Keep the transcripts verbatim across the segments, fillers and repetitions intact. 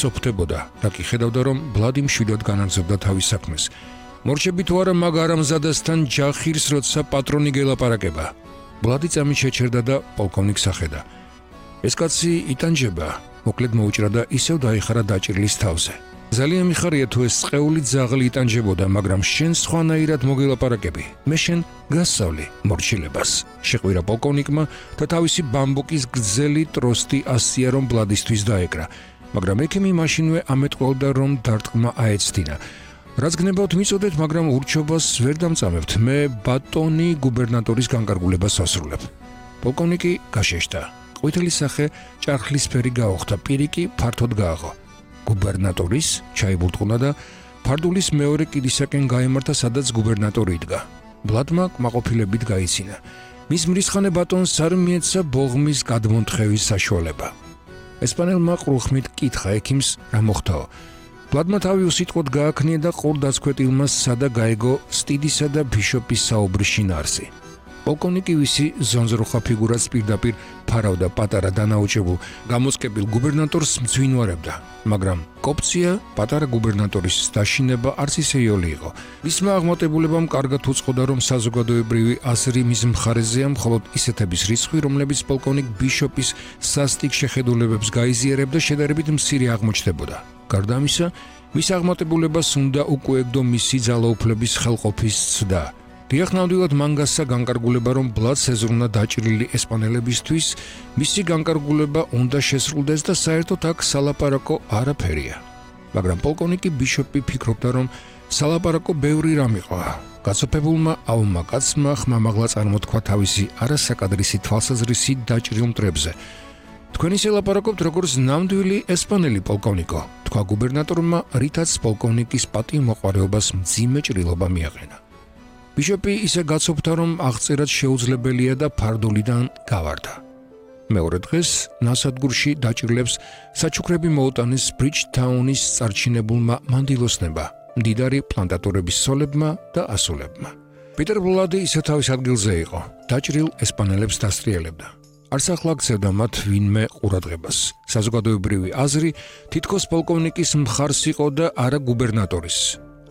სოფთებოდა, რა კი ხედავდა, რომ ბლადი მშვიდად განაგრძობდა თავის საქმეს. მორჩები თუ არა მაგ არამზადასთან ჯახირს, როცა პატრონი გელაპარაკება. ბლადი წამით შეჩერდა და პოლკოვნიკს ახედა. ეს კაცი იტანჯება, მოკლედ მოუჭრა და ისევ დაიხარა დაჭრილის თავზე. ძალიან მიხარია თუ ეს წეული ძაღლი იტანჯებოდა, მაგრამ შენ სხვანაირად მოგელაპარაკები. მე შენ გასწავლი მორჩილებას. შეყვირა პოლკოვნიკმა და თავისი ბამბუკის გრძელი ტროსტი ასია რომ ბლადისთვის დაეკრა, მაგრამ ექიმი მაშინვე ამეტყველდა რომ დარტყმა აეცდინა. რაც გნებავთ მიწოდეთ, მაგრამ ურჩობას ვერ დამწამებთ. მე ბატონი გუბერნატორის განკარგულებას ასრულებ. პოლკოვნიკი გაშეშდა. ყვითელი სახე ჭარხლისფერი გაუხდა, პირი კი ფართოდ გააღო. გუბერნატორის ჩაიბურტყუნა და ფარდულის მეორე კიდისაკენ გაემართა, სადაც გუბერნატორი იდგა. ბლადმა კმაყოფილებით გაიცინა. მის მრისხანე ბატონს არ მიეცა ბოღმის გადმონთხევის საშუალება. ესპანელმა ყრუხმით კითხა ექიმს რა მოხდაო. ბლადმა თავი უსიტყვოდ გააქნია და ყურდაცქვეტილმა სცადა გაეგო სტიდისა და ბიშოპის საუბრის შინაარსი. პოლკოვნიკი ვისი ზონზრუხა ფიგურას პირდაპირ ფარავდა პატარა დანაოჭებულ გამოსკებილ გუბერნატორს მძვინვარებდა, მაგრამ კოპცია პატარა გუბერნატორის დაშინება არც ისე იოლი იყო. მისმა აღმატებულებამ კარგად უწყოდა, რომ საზოგადოებრივი აზრი მის მხარეზეა, მხოლოდ ისეთების რიცხვი, რომლებიც პოლკოვნიკ ბიშოპის სასტიკ შეხედულებებს გაიზიარებდა, შედარებით მცირე აღმოჩნდებოდა. გარდა ამისა, მის აღმატებულებას უნდა უკუეგდო მისი ძალაუფლების ხელყოფის ცდა. დიახ, ნამდვილად მან გასცა განკარგულება, რომ ბლადს ეზრუნა დაჭრილი ესპანელებისთვის, მისი განკარგულება უნდა შესრულდეს და საერთოდ აქ სალაპარაკო არაფერია. მაგრამ პოლკოვნიკი ბიშოპი ფიქრობდა, რომ სალაპარაკო ბევრი რამ იყო. გაცოფებულმა აუმა კაცმა ხმამაღლა წარმოთქვა თავისი არასაკადრისი თვალსაზრისით დაჭრილ მტრებზე. თქვენ ისე ლაპარაკობთ, როგორც ნამდვილი ესპანელი პოლკოვნიკო, თქვა გუბერნატორმა, რითაც პოლკოვნიკის პატივმოყვარეობას მძიმე ჭრილობა მიაყენა. ბიშოპი ისე გაცოფდა, რომ აღწერაც შეუძლებელია და ფარდულიდან გავარდა. მეორე დღეს ნასადგურში დაჭრილებს საჩუქრები მოუტანეს ბრიჯთაუნის წარჩინებულმა მანდილოსნებმა, მდიდარი პლანტატორების სოლებმა და ასულებმა. პიტერ ბლადი ისე თავის ადგილზე იყო, დაჭრილ ესპანელებს დასტრიელებდა. არც ახლა აქცევდა მათ ვინმე ყურადღებას. საზოგადოებრივი აზრი თითქოს პოლკოვნიკის მხარს იყო და არა გუბერნატორის.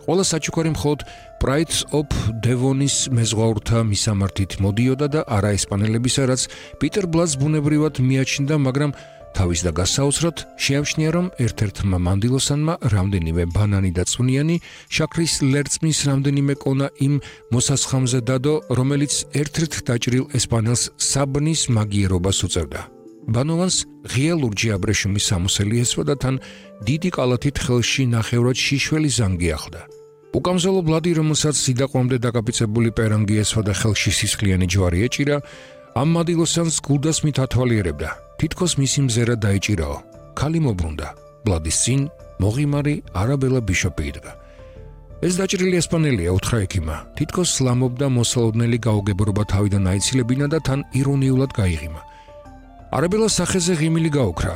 ყველა საჩუქარი მხოლოდ პრაიტს ოფ დევონის მეზღვაურთა მისამართით მოდიოდა და არა ესპანელებისა, რაც პიტერ ბლადს ბუნებრივად მიაჩნდა, მაგრამ თავის და გასაოცრად შეამჩნია, რომ ერთ-ერთმა მანდილოსანმა რამდენიმე ბანანი და წვნიანი შაქრის ლერწმის რამდენიმე კონა იმ მოსასხამზე დადო, რომელიც ერთ-ერთ დაჭრილ ესპანელს საბნის მაგიერობას უწევდა. ბანოვანს ღია ლურჯი აბრეშუმის სამოსელი ესვა და თან დიდი კალათით ხელში ნახევრად შიშველი ზანგი ახლდა. უკამზოლო ბლადი, რომელსაც სიდაყვამდე დაკაპიცებული პერანგი ესვა და ხელში სისხლიანი ჯვარი ეჭირა, ამ მანდილოსანს გულდასმით ათვალიერებდა. თითქოს მისი მზერა დაეჭირაო. ქალი მობრუნდა. ბლადის წინ მოღიმარი არაბელა ბიშოპი იდგა. ეს დაჭრილი ესპანელია, უთხრა ექიმმა. თითქოს სლამობდა მოსალოდნელი გაუგებრობა თავიდან აიცილებინა და თან ირონიულად გაიღიმა. არაბელას სახეზე ღიმილი გაუქრა.